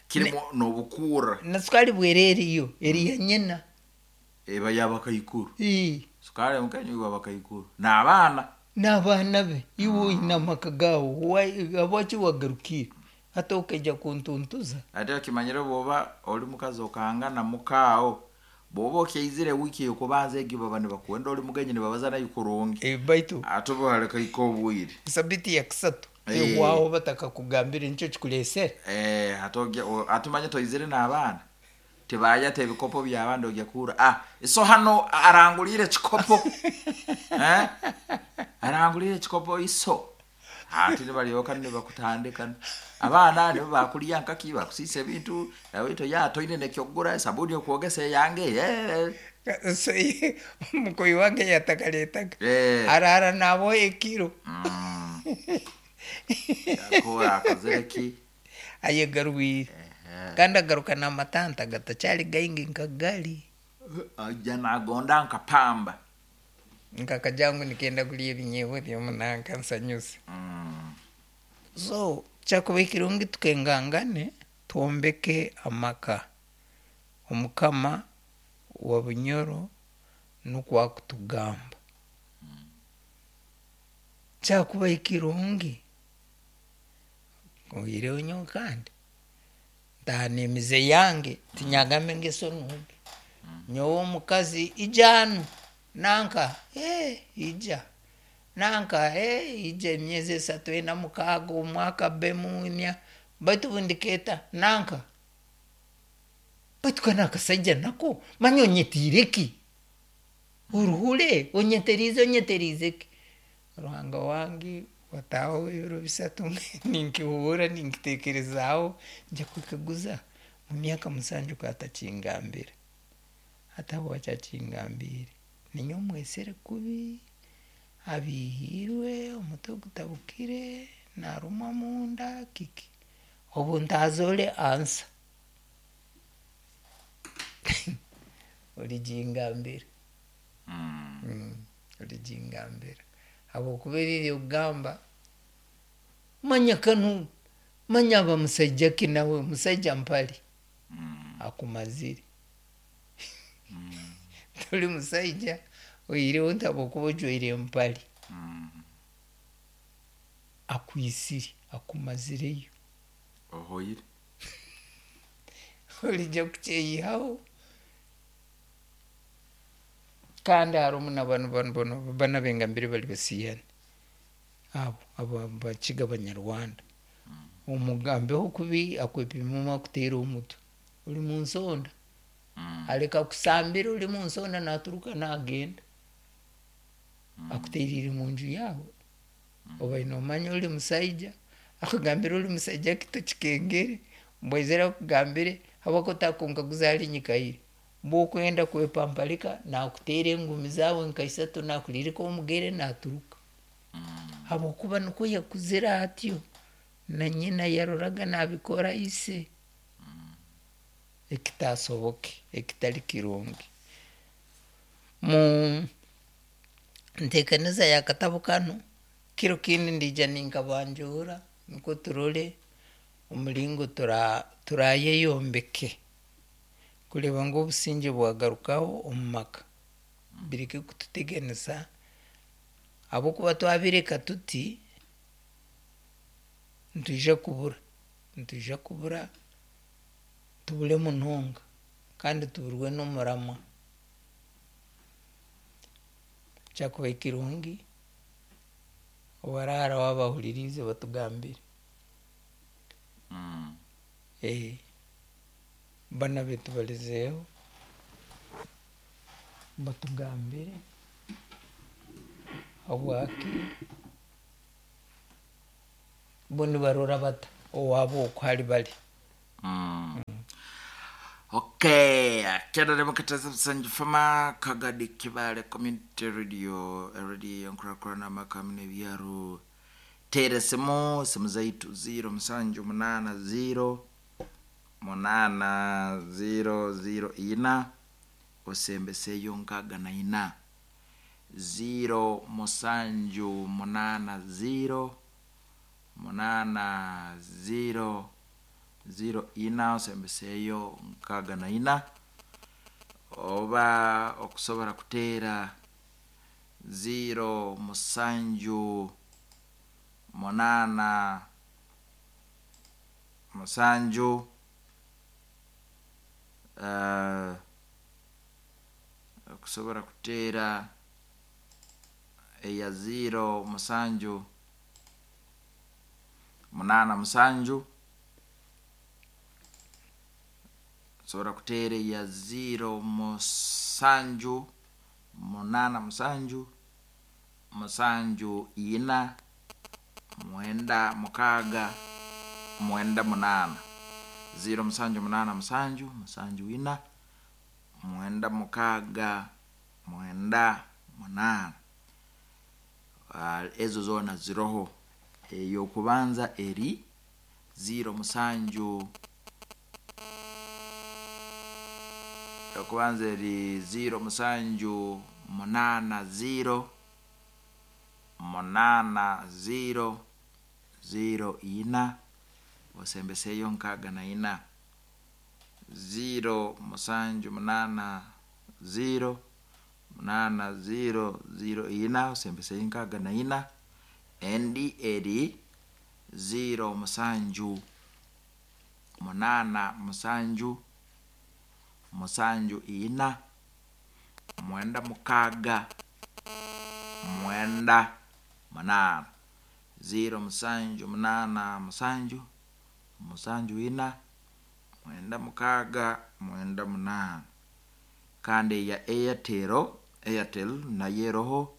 kirimu n'obukuura. Na sukali bwera eriyo eri ya nyina. Eba yabakaikuru. Ii. Sukaali mukanywa bakaikuru n'abaana. N'abaana be. Iwe oine amaka gaawe, habwaki wagarukire hati okaija kuntuntuza? Ate okimanyire bwoba oli mukazi okangana mukaawo, bwoba okyaizire wiiki ekubanza egi baba nibakwenda oli mugenyi, nibabaza nayo kurungi. Eh, baitu ate oba walekaika obwire. Sabiti ya kusatu Eh. ehwaho batakakugambire nikyo kikuleesere. Eh, ate ogya- o- ate omanye toizire n'abaana tibayata ebikopo by'abandi, ogya kuura, ah, iso hano arangulire ekikopo, eh? Arangulire ekikopo iso, ate nibalyoka nibakutandika abaana nibo bakulya nkaki bakusiisa ebintu baitu ya toine nekyokugura esabuni okwogesa eyange, eh. So, ye- omukoyi wange yatakaletaga Eh. arara nabo ekiro. Mm. Yakora akozere ki? Ayegarwire kandi agaruka n'amatanta gatakyali gaingi nka gali. Ajja nagonda nka pamba. Nkakajangu nikenda kulya ebinyeebwa byomunanka nsanyuse. Mm. So kyakuba ekirungi tukengangane twombeke amaka. Omukama wa Bunyoro nukwo akutugamba kyakuba ekirungi oireho nyowe kandi ntaana emize yange tinyagambe engeso nungi. Nyowe omukazi ija hanu nanka, eh, ija nanka, eh, ija emyezi esatu, ena, mukaaga, omwaka bbemu emya, baitu bundikeeta nanka, baitu kanu akasaija nako manya onyetiire ki, oruhure onyeteriize onyeteriize ki? Ruhanga wange, wataaho ebiro bisatu ninkihuura ninkiteekerezaaho, nja kwekaguza mu myaka musanju katakingambira, hati habwaki akingambiire? Ninyowe mwesere kubi, abiihiirwe, omutwe gutabukire, narumwa munda kiki? Obu ntazoole ansa oligingambira. Mm. Mm, oligingambira habwokuba eri okugamba manya kanu manya aba musaija ki nawe musaija mpali. Mm. Akumazire toli musaija oihireho nti habwokuba ojwaire empali. Mm. Akwisire akumazireyo. Ohoire. Olijja kukyeyihaho. Kandi harimu na banu banu banu bana bengambire bali basiyani abo abo bakiga Banyarwanda, omugambeho kubi akwepima akuteera omutwe ori mu nsonda. Mm. Aleka kusambira ori mu nsonda naturuka nagenda akuteeriire munju yaawe, obaire nomanya ori musaija, akugambire ori musaija ki tokikengere mbwaizire akugambire habwokuba otakunkaguza hali nyikaire bwokwenda kwepampalika nakuteera engumi zaawe nka isatu nakuririka omugere naturuka, habwokuba nikwo yakuzire atyo na nyina yaroraga nabikora ise, ekitasoboke ekitali kirungi. Mu nteekaniza y'akatabu kanu kiro kindi ndiija ninkabanjuura nikwo turole omuringo tura turayeyombeke kureeba ngu obusinge bwagarukaho omu maka, bireke kututeganisa habwokuba twabireka tuti nitwija kubura nitwija kubura tubure munonga kandi tuburwe n'omurama. Kyakuba kirungi obaraharaho abahuririize batugambire. Mm. Eh, bana betu balizeeho batugambire habwaki. Bo nibarora bata owaabo oku hari bari? Mm. Okay, kyadare mukataza busanju fama Kagadi Kibale Community Radio, radio nkurakurana makamine byaro. Tere simu, simu zaitu zero musanju munana zero munana zero zero ina osembeseyo nkaga na ina zero musanju munana zero munana zero zero ina osembeseyo nkaga na ina oba okusobora kuteera zero musanju munana musanju uh, okusobora kuteera eya zero musanju munana musanju osobola kuteera eya zero musanju munana musanju musanju ina mwenda mukaaga mwenda munana zero musanju munana musanju musanju ina mwenda mukaaga mwenda munana. Uh, ezo zona ziroho. Eyokubanza eri zero musanju yokubanza eri zero musanju munana zero munana zero zero ina osembeseyo nkaaga na ina zero musanju munana zero munana zero zero ina osembeseyo nkaaga na ina endi eri zero musanju munana musanju musanju ina mwenda mukaaga mwenda munana zero musanju munana musanju musanju ina mwenda mukaaga mwenda munana. Kandi ya Airtel, Airtel nayo eroho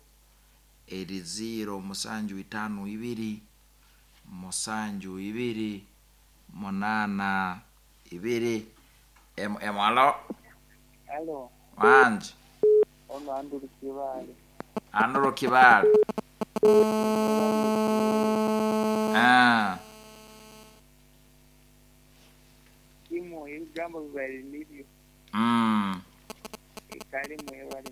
eri zero musanju itano ibiri musanju ibiri munana ibiri. Em em alo. Alo. Wanje. Ono Andrew Kibale. Andrew Kibale. Ah. Imo ebigambo bibali nibyo. Mm. Ekale mwebale.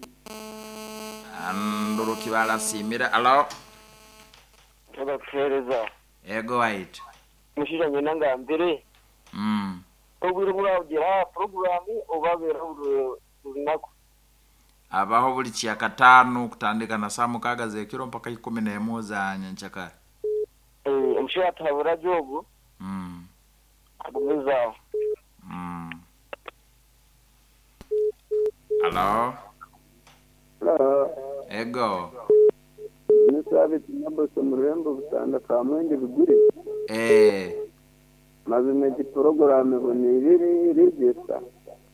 Andrew Kibale asimira. Alo. Tubakuhereza. Ego white. Mushisha nyina ngambire. Mm. Obwire buragira programu obabera lunaku. Abaho buli kyakataano kutandika na saa mukaaga z'ekiro mpaka ikumi n'emu za nyenkyakare. Eh, omushaija atuhabura gyogu. Mm. Agumizaho. Mm. Alo. Hello. Ego. Nisabiti Naboso mu rurembo Butanda Kamwenge Biguri. Eh. Mazima egi porogaramu ebonire rigesa.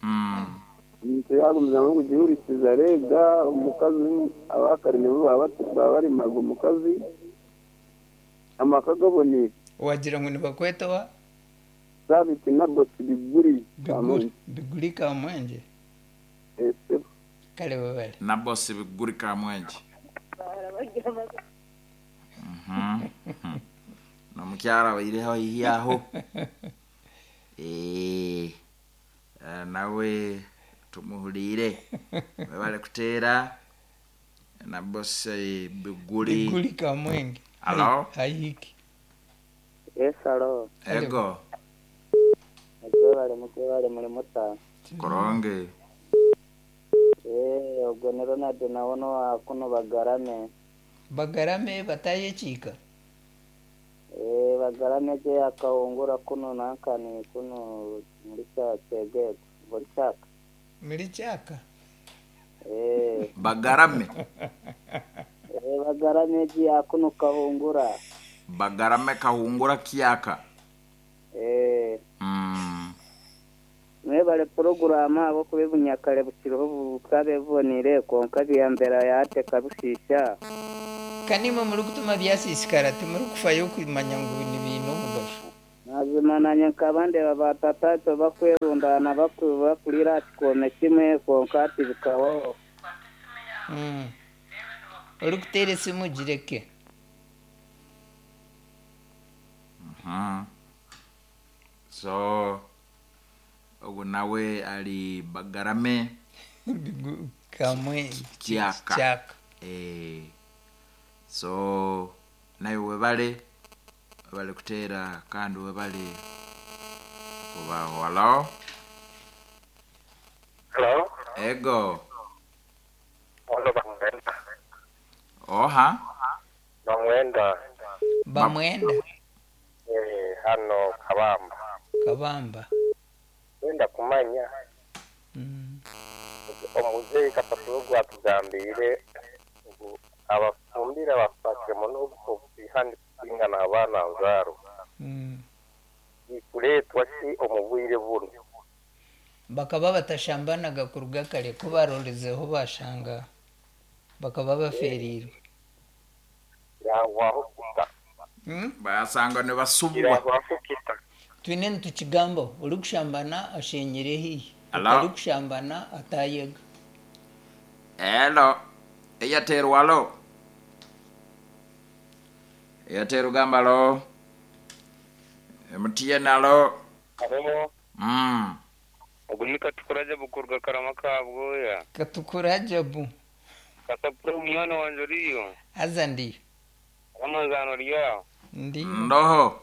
Mm. Omuntu yagumizamu kugihurikiza rega omukazi abakare nibo baba barimaga omukazi amaka gabonire. Wagira ngu nibakweta wa? Sabiti Naboso Biguri Kamwenge. Biguri Kamwenge. Eh, Kale babale. Naboso Biguri Kamwenge. Mhm. Nomukyara baireho iyaho. Eh. Nawe tumuhulire. Webale kuteera Naboso Biguri. Biguri Kamwenge. Alo. Hayiki. Yes, alo. Ego. Mwebale mwebale muri mutano. Koronge. Eh, ogwo ni Ronald nawono wa kuno Bagarame. Bagarame batayekika. Eh, Bagarame je akahungura kuno nankani kuno muri cyakege muri cyaka. Muri cyaka. Eh, Bagarame. Eh, Bagarame je akuno kahungura. Bagarame kahungura kiyaka. Eh. Mm. Mwebale porogaramu abo kubibunyakare bukiriho bukabe bubonire konka byambera yate kabushisha. Kanimwe muri kutuma byasisikara timuri kufayo kumanya ngu ni bintu Mazima nanye nkaba ndeba batata bakwerundana bakurira aha kikome kimwe konka ati bikabaho. Mm. Orikuteera esimu gireke. Mhm. So ogu nawe ali Bagarame. Kamwe Kyaka. Kyaka. Eh, so nawe webale, webale kuteera kandi webale kubaho. Halo. Hello. Ego. Wano bamwenda. Oha. Bamwenda. Bamwenda. Eh, hano Kabamba. Kabamba. Wenda kumanya. Mm. Omuzeeyi Kasapuro gwatugambire ngu abafumbire bafatire muno obusihani kutingana abaana nzaaro. Mm. Ikureetwa ki omu bwire buno? Bakaba batashambanaga kuruga kare, ko barorezeho bashanga bakaba baferirwe. Yahwaho kita. Mm? Basanga ne basubwa. Yahwaho kita. Twine nitukigambaho, orikushambana ashenyire hihi, Hello? otarikushambana atayega. Hello. Airtel walo. Airtel gamba lo. M T N alo. Halo. Mm. Ogu ni Katukura bukurwa Karama kabwoya. Katukura Jabu. Kasapuro mwana wanje oriyo. Haza ndiyo. Amazano ryaho. Ndiyo. Ndoho.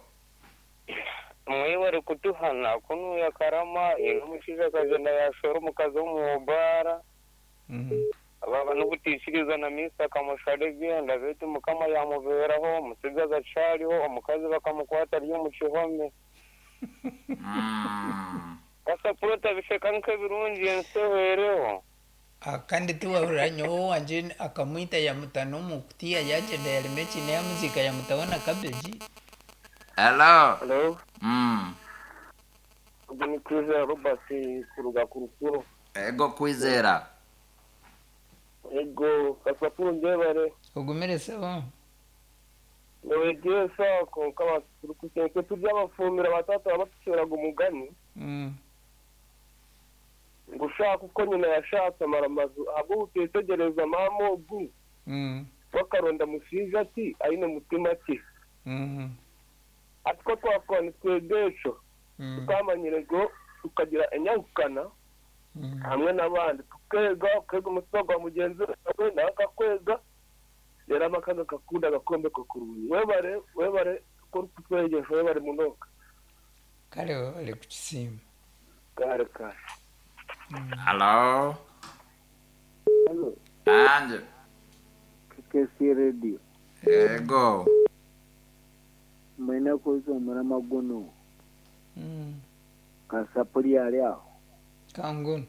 Mwebare kutuhana kunuya Karama ino omushaija akagenda yashora omukazi w'omubara. Mm. Baba n'obutishiriza na misa akamushara ebyenda beitu Mukama yamuberaho omutsigazi acariho omukazi bakamukwata ari omu kihome. Mm. Kasapuro tabisheka nk'ebirungi ensi ehwereho. Ah, kandi tiwahurira nyowe wanje akamwita yamuta n'omukutiya yagyenda yarema ekiina yamuziika yamutaho na cabbage. Hello. Hello. Mm. Ogu ni Kwizera Robert kuruga ku Rukuru. Ego Kwizera. Ego Kasapuro ngebare. Ogumire sebo. Nowegyesa konka turikusenke turya abafumira batata babatuceraga umugani. Mm. Ngo ushaka uko nyina yashatse amara amazu ahubwo utetegereza mama ogu. Mm. Bakaronda mushinja ati aine mutima ki. Mm. Ati ko twakora nitwegesho. Mm. Tukamanyire ngo tukagira enyagukana. Mm. Hamwe n'abandi tukega, ukega umutima gwa mugenzi wawe nawe akakwega. Rero amakaga kakunda agakombe kakurungi. Webare, webare ko kutwegesha, webare munonga. Kare webare kukisiima. Kare kare. Hello. Hello. Anje. K C Radio. Ego. Mwena kuzo murama guno. Mm. Kasapuri ali aho. Kanguno.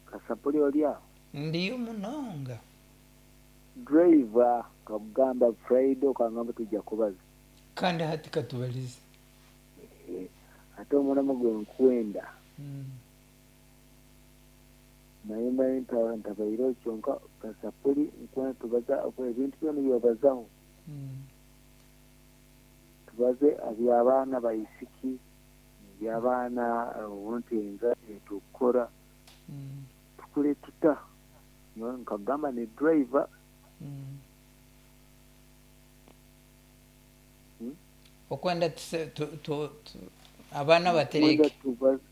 Kasapuri oli aho. Ndiyo munonga. Driver kakugamba Friday okangamba tujja kubaza. Kandi hati katubalize. Eh, ate omurama gwe nkwenda. Mm. Naye mbaye ntabaire kyonka Kasapuri nkwenda tubaza ebintu byona byobazaho. Mm. Tubaze aby'abaana baisiki, eby'abaana obuntenga etukora. Mm. Tukule tuta. Nyowe nkagamba ni driver. Mm. Hmm? Okwenda tuse, tu, tu, tu, abaana batereke. Tubaze.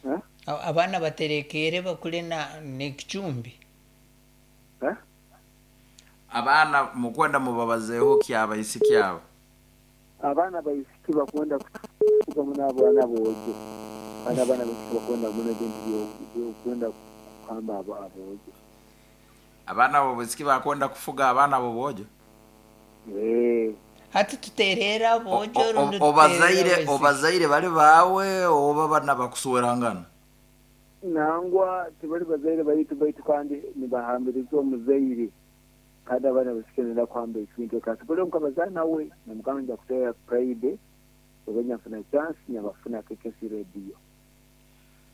Ha? Abaana baterekere bakule na n'ekicumbi. Ha? Abaana mukwenda mubabazeeho kyabaisiki abo. Abaana baisiki bakwenda kufuga muno abaana boojo. Kandi abaana baisiki bakwenda muno ebintu byokwenda kuhamba abo aboojo. Abaana bobaisiki bakwenda kufuga abaana boboojo? Eh. Hati tuterera aboojo rundi Obazaire, obazaire bali baawe oba bana bakusuwerangana? Nangwa tibali bazaire baitu baitu kandi nibahambiriza omuzaire. Kandi abaana baisiki nenda kuhamba ekintu kasipolo nkabazaana nawe namugamba nja kuteera Friday oba nyafuna chance nyabafuna K C Radio.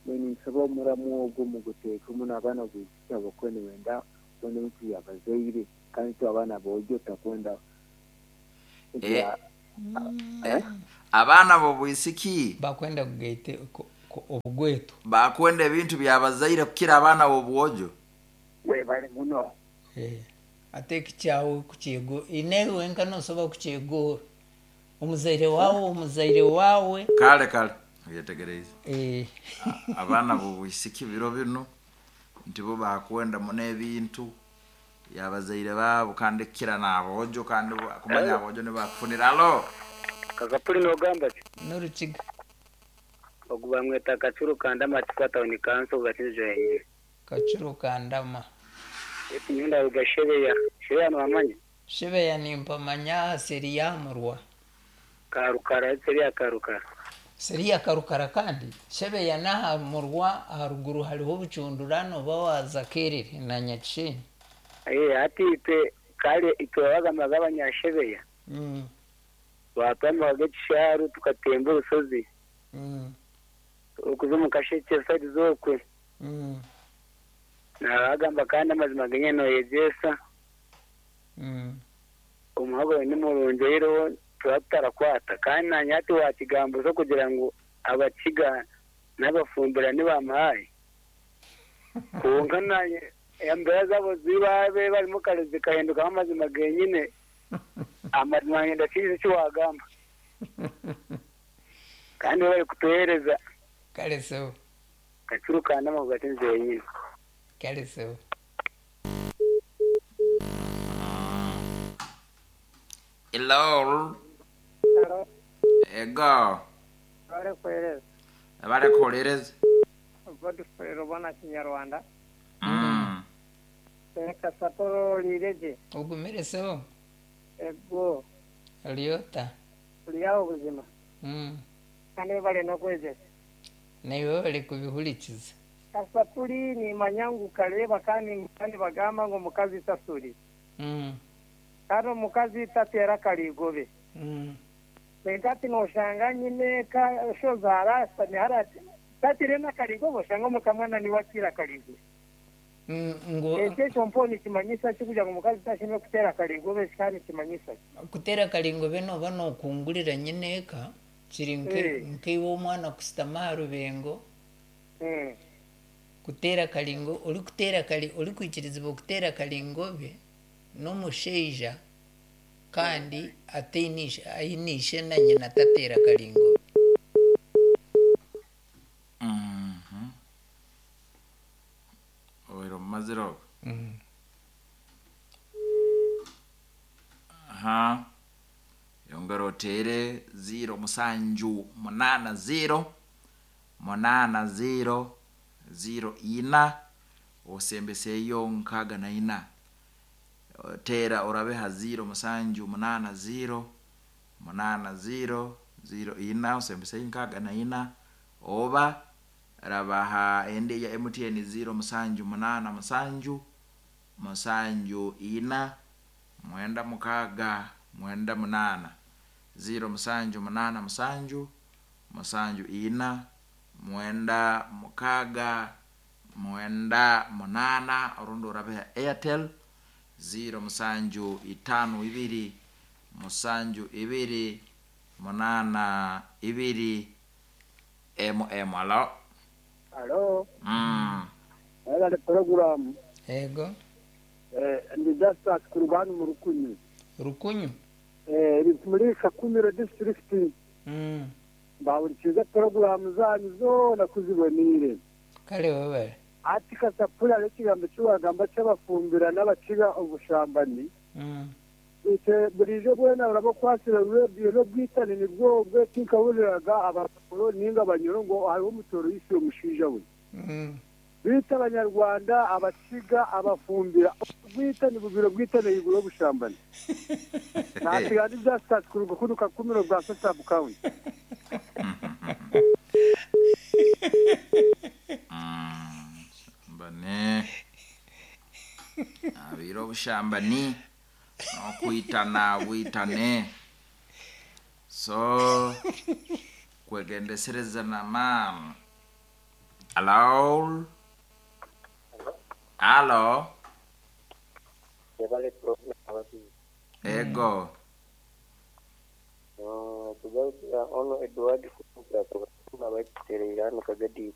Mbwenu nsaba omuramu ogwo muguteeke muno abaana baisiki abakwenda wenda kwenda ebintu byabazaire kandi tu abaana boojo takwenda. Eh, eh, Abaana b'obwisiki Bakwenda kugaite ku- ku- obugwetu. Bakwenda ebintu byabazaire kukira abaana b'obwojo. Webale muno. Eh, ate ekikyawe kukyego inewe wenka nosobola kukyegora omuzaire wawe omuzaire wawe. Kale kale oyetegereize. Eh, Abaana b'obwisiki biro bino nti bo bakwenda muno ebintu yabazaire baabo kandi kukira n'aboojo kandi bo- kumanya aboojo nibakufunira alo. Kakapuli nogamba ki? N'orukiga. Ogu bamweta Kacuru Kandama Chikwa Town Council Gakinzo yenyewe. Kacuru Kandama. Eti nyunda rugashebeya. Shebeya nwamanya? Shebeya nimpamanya aha seri ya murwa. Karukara seri karukara. Seri ya Karukara kandi Shebeya n'aha murwa aharuguru hariho obucundurano oba waza Kerere na Nyakishenyi. Eh ati itwe kale itwe bagamba abanyashebeya. Mm, Twatwamaga ekisharu tukatemba orusozi. mm, Okuza omu kasheke side zokwe. mm, Nabagamba kandi amazima genye noyegyesa. mm. Omuhago ni murungi rero tuba tutarakwata kandi nanye ati wakigambo so kugira ngu abakiga n'abafumbira nibamuhaye konka nanye embera zabo zibabe barimo kare zikahindukamo amazima genyine amazima ngenda kizi kiwagamba kandi bari kutuhereza. Kale sebo. Kacurukana amavuga atinze yenyine. Kale sebo. Hello. Ego. Barekuhereza. Barekuhereza. Godfrey Rubona Kinyarwanda. Mm. Reka saporo lireje. Ogumire sebo. Ego. Ryota. Uriyaho ubuzima. Mm. Kandi bari no kwezesa. Naiwe bari kubihurikiza. Kasapuri nimanya ngu kareba kandi kandi bagamba ngo mukazi tasuri. Mm. Kandi omukazi tatera karigobe. Mm. Nkati noshanga nyine ka shozara sanihara tatire na karigobe oshanga omukamwana niwe akira karigobe. Mm, ngo Ekyo ekyo nikimanyisa ki kugira ngu omukazi tashemeriire kutera karigobe kandi nikimanyisa ki? Kutera karingobe noba nokungurira nyine eka kiri nke- Eh. nkeiwe omwana kusitama aha rubengo. Mm. Kutera karingo orikutera kari orikwikirizibwa kutera karingobe n'omushaija kandi ataine ishe aine ishe na nyina tateera karingobe. Mhm. Oiro mumazire ogwo. Mm. Aha. Yongera otere ziro musanju munana ziro munana ziro ziro ina osembeseyo nkaaga na ina. Tera orabeha ziro musanju munana ziro munana ziro ziro ina osembeseyo nkaaga na ina oba rabaha endi ya M T N ziro musanju munana musanju musanju ina mwenda mukaaga mwenda munana, ziro musanju munana musanju musanju ina mwenda mukaaga mwenda munana. Orundi orabeha Airtel ziro musanju itano ibiri musanju ibiri munana ibiri mm alo. Alo. mm. Webale poroguramu. Ego. Ndi Justus kurugano mu Rukunyu. Rukunyu. Eh, muri Kakumiro District. Mm. Bahurikiza poroguramu zanyu zona kuzibonire. Kale webale. Ati kasapura ekigambo kiwagamba ky'abafumbira n'abakiga obushambani. Mm. Ite burijo bwena urabakwasira radiyo n'obwitane nibwo bwetinkahuriraga abakuru ninga abanyoro ngo hariho omutoro yishe omushaija we. Mm. Bita abanyarwanda abakiga abafumbira bwitane bubiro bwitane iguru obushambani. Nasigandi Justus kuruga kuno Kakumiro bwa Sub County. Mm, shambani abire obushambani n'okwitana bwitane so kwegendesereza nama. Alo, alo. Webale program ababiri. Ego. Tugarukira ono Edward Kuba bakitereire hano Kagadi.